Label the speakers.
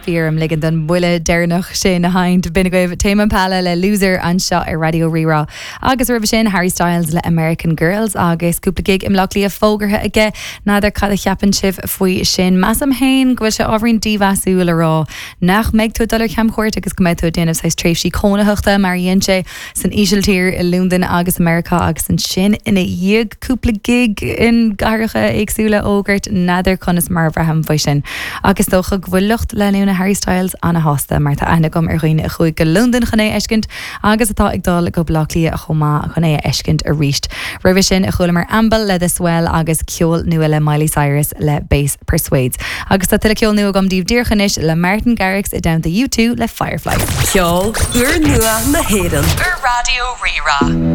Speaker 1: Bhí orm ligean don bhuille deireanach sin a sheinnt. B'in agaibh Tame Impala le Loser anseo ar Raidió Rí-Rá. Agus roimhe sin, Harry Styles le American Girls agus cúpla gig i mBleá Cliath fógartha aige. N'fheadar cad a cheapann sibh faoi sin. Measaim féin go bhfuil sé ábhairín dímheasúil a rá nach mbeidh tú ag dul ar chamchuairt agus go mbeidh tú ag déanamh saghas tréimhsí cónaitheachta mar a dhein sé san Ísiltír, i Londain agus i Meiriceá agus ansin ina dhiaidh cúpla gig in gcathracha éagsúla a fhógairt, n'fheadar conas mar a bhraithim faoi sin. Ach is dócha go bhfuil lucht leanúna Harry Styles ana-shásta mar tá aithne agam ar dhaoine a chuaigh go Londain chun é a fheiscint agus atá ag dul go Baile Átha Cliath chomh maith chun é a fheiscint arís. Roimhe sin chualamar Amble le The Swell agus ceol nua le Miley Cyrus le Bass Persuades. Agus tá tuilleadh ceol nua agam daoibh díreach anois le Martin Garrix i dteannta U2 le Firefly.
Speaker 2: Ceol úrnua na hÉireann.
Speaker 1: Ar Raidió Rí-Rá.